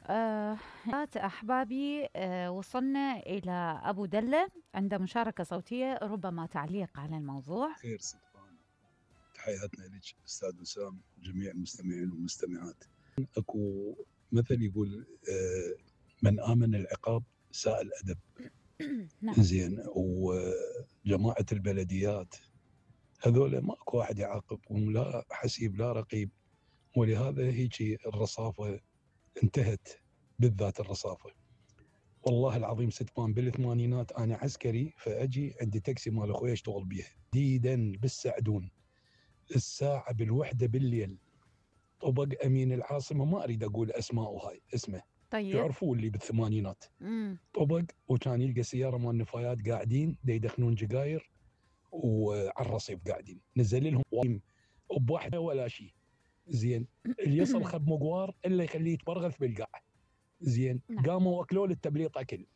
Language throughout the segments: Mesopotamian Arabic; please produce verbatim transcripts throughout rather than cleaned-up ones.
آه أحبابي، آه وصلنا إلى أبو دلة عنده مشاركة صوتية، ربما تعليق على الموضوع. خير صدقان، تحياتنا لك أستاذ وسام وجميع المستمعين والمستمعات. أكو مثل يقول آه من آمن العقاب ساء الأدب. نعم. زين، وجماعة البلديات هذول ماكو واحد يعاقبهم، لا حسيب لا رقيب، ولهذا هيك الرصافة انتهت، بالذات الرصافة. والله العظيم ستمان بالثمانينات أنا عسكري، فأجي عندي تاكسي مال أخوي أشتغل بيه تحديدا بالسعدون، الساعة بالوحدة بالليل طبق أمين العاصمة، ما أريد أقول أسماء هاي اسمه، طيب. يعرفوا اللي بالثمانينات. مم. طبق، وكان يلقى سيارة مال نفايات قاعدين دا يدخنون جقاير وعلى الرصيف قاعدين، نزل لهم بواحدة ولا شيء. زين، اللي يصل خب مقوار إلا يخليه يتبرغث بالقاع. زين، قاموا وأكلوا للتبليط أكل.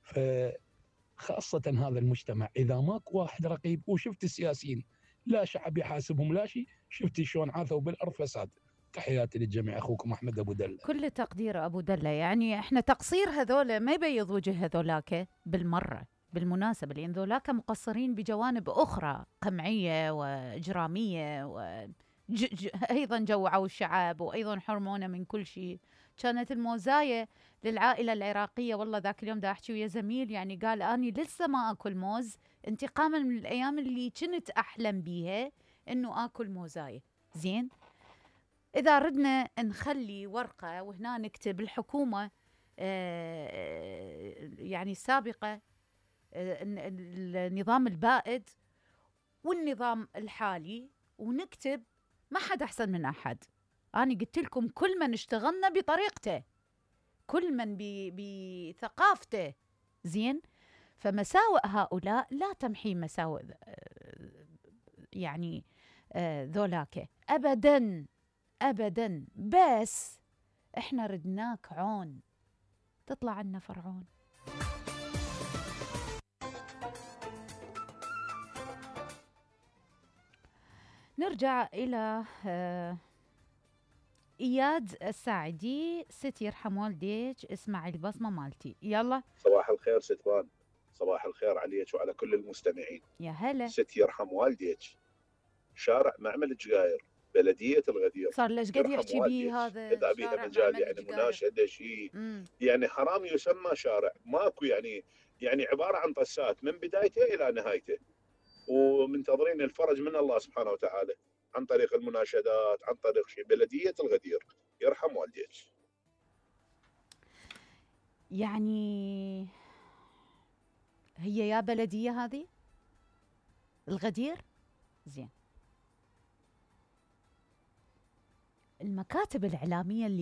فخاصة هذا المجتمع إذا ماك واحد رقيب، وشفت السياسيين لا شعب يحاسبهم لا شيء، شفتي شلون عاثوا بالأرض فساد. تحياتي للجميع، أخوكم أحمد أبو دلة. كل تقدير أبو دلة، يعني إحنا تقصير هذول ما يبيض وجه هذولاك بالمرة بالمناسبة، لأن ذولاك مقصرين بجوانب أخرى قمعية وإجرامية و ج ج أيضا جوعوا الشعب وأيضا حرمونا من كل شيء. كانت الموزاية للعائلة العراقية. والله ذاك اليوم دا أحكي ويا زميل، يعني قال أني لسه ما أكل موز، انتقاما من الأيام اللي كنت أحلم بيها إنه أكل موزاية. زين، إذا ردنا نخلي ورقة وهنا نكتب الحكومة يعني السابقة، النظام البائد والنظام الحالي، ونكتب ما حد أحسن من أحد. أنا قلت لكم كل من اشتغلنا بطريقته، كل من بثقافته. زين، فمساوئ هؤلاء لا تمحي مساوئ يعني ذولاك أبداً أبداً، بس إحنا ردناك عون تطلع عنا فرعون. نرجع إلى إياد الساعدي. ست يرحم والديك، اسمع البصمة مالتي. يلا. صباح الخير ستوان، صباح الخير عليك وعلى كل المستمعين. يا هلا. ست يرحم والديك، شارع معمل الجقاير، بلدية الغدير. صار ليش قد يحكي بيه هذا؟ إذا بيها مجال يعني مناشدة شيء، يعني حرام يسمى شارع، ماكو يعني يعني عبارة عن طسات من بدايته إلى نهايته، ومنتظرين الفرج من الله سبحانه وتعالى عن طريق المناشدات، عن طريق شيء. بلدية الغدير، يرحم والديك. يعني هي يا بلدية هذه الغدير. زين، المكاتب الإعلامية اللي